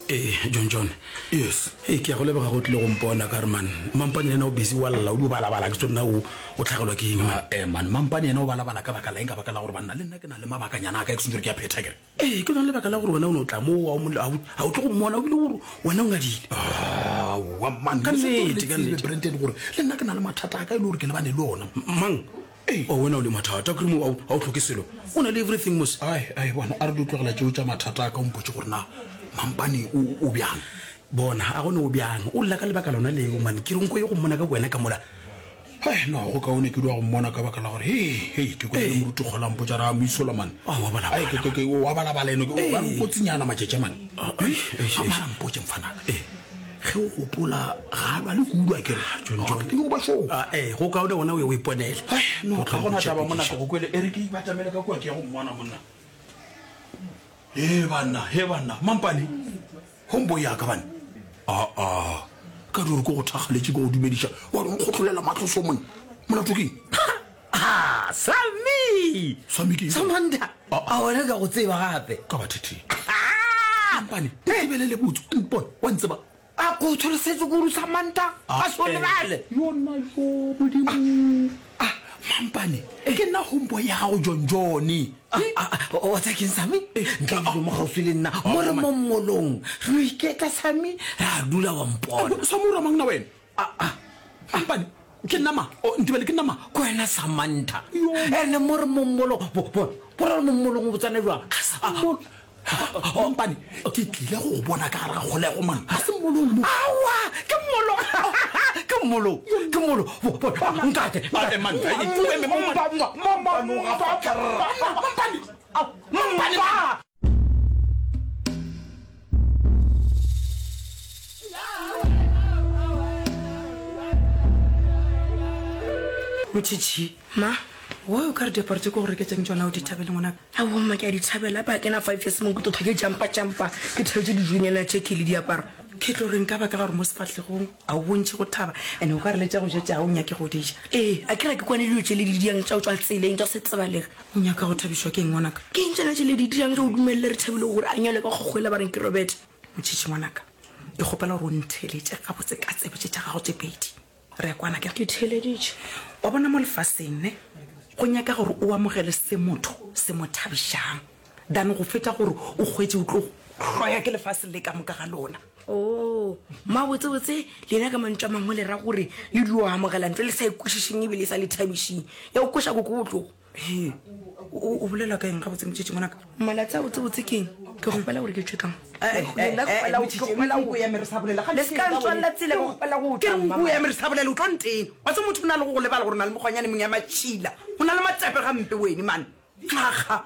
Ee, John John. Yes. Ee, ke a go leboga go tlile go mpona ka re man. Mampane yena o busy wa lla o di balabala ke tsona o o tlhagelwa ke eng man. Eh man, Mampane yena o balabala ka baka la eng ka baka la gore banna le nna ke na le mabakanyana a ka ke sentse gore ke a phetha kere. Ee, ke lona lebaka la gore wena o no tla mo a o tlo go mmona o bile gore wena o ngadile. Aowa man, ka nnete, ka nnete. Brandon gore le nna ke na le mathata a ka e le gore ke lebane le ona. Mang? Ee, oh, wena o le mathata, kere mo ga o tlhoke selo. O na le everything mos. Ai, ai, bona, a re di tlogela tšeo tša mathata a ka o mpotše gore na Mampane o, o bjang. Bona, a gone o bjang. O lla ka lebaka lona leo, man. Ke re nko ye go mmona ka wena ka mola. Hai, no, go kaone ke dua go mmona ka baka la gore, hei, hei, ke kwele le moruti Kgola mpotša ra mo isola, man. Oh, wa balabala. Ai, ke, ke, ke, wa balabala eno, ke, ba re o kotsinyana matšatši a man. Ai, ai, ai. Mara mpotše mfanaka. Ee. Ge o gopola, ga a lwale kudu, a ke re? John, John. Ke go ba sure. Ah, ee, go kaone gona o ye o iponele. Hai, no, ga gona taba monna, ke go kwele. E re ke ipatamele ka kua ke ya go mmona monna. He banna, he banna, mampane. Homeboy ya ka banna. Aa, ka di gore ke go thakgaletše ke go dumediša, wa re nkgotlolela mahlo so monna. Molato ke eng? Ha, Sami! Sami ke eng? Samantha! A wena ka go tseba gape? Ka ba thetheng. Mampane, ntebelele botse, o mpone, wa ntseba. A ko tsholosetše kudu Samantha, a se o lebale. Yona yo Modimo. Ah, Mampane, ke nna homeboy ya gago John John. Wa tsa keng Sami? Ntle le mo gaufi le nna, mo re mo mmolong. Re no iketla Sami, ra dula wa mpona. Sami o ra mang na wena? Mampane, ke nna mang? Oh, ntebele ke nna mang? Ke wena Samantha. Ene mo re mo mmolong, bo bo bo re mo mmolong o botsana jwang? Mampane, ke tlile go go bona ka gare ga kgolego man. Ga se mmolong mo. Aowa, ke mmolong. Ke mmolong, ke mmolong. Nkate. Mampane, Mampane. Motšhitšhi. Ma. Why o ka re diaparo tše ke go reketšeng tšona o di thabele ngwanaka? Aowa mma ke a di thabela ba kena five years mo ke tlo ke jampa jampa ke thabetše dijonyana tše ke le diaparo. Ke tlo reng ka baka la gore mo sefahlegong a o bontšhe go thaba and o ka re le tša go ja tša o nyake go di ja. Ee a ke re ke kwane dilo tše le di diang tša go tšwa tseleng tša se tsebalege. O nyaka go thabišwa ke eng ngwanaka? Ke eng tšona tše le di dirang ge o dumelele Rethabile gore a nyalwe ka kgokgo yela ba reng ke Robert? Motšhitšhi ngwanaka, ke kgopela gore o ntheeletše gabotse ka tsebe tše tša gago tše pedi. Re a kwana akere? Ke theeleditše. Wa bona mo lefaseng ne, go nyaka gore o amogele se motho se mo thabišang than go feta gore o hwetše o tlo hloya ke lefase le ka moka ga lona. Oo, mmabotsebotse, lena ka mantšu a mangwe le ra gore le dio amogela ntho e le sa e kwešišeng ebile e sa le thabišeng ya go kweša koko bohloko. He, o, o bolela ka eng gabotse motšetši ngwanaka? Malatsi a botsebotse ke eng? Ke kgopela gore ke tšwe ka mo. Eh, eh, Nna ke eh, kgopela go- motšhetši, ke kgopela go- nku ya me re sa bolela. Le se ka ntswalela tsela, ke kgopela go Ke tla, re nku mama. ya me re sa bolela, o tlo ntena. Wa tseba motho o na le go go lebala gore o na le mokgwanyane mongwe ya matšhila. O na le matepe gampe wene, man. Aga.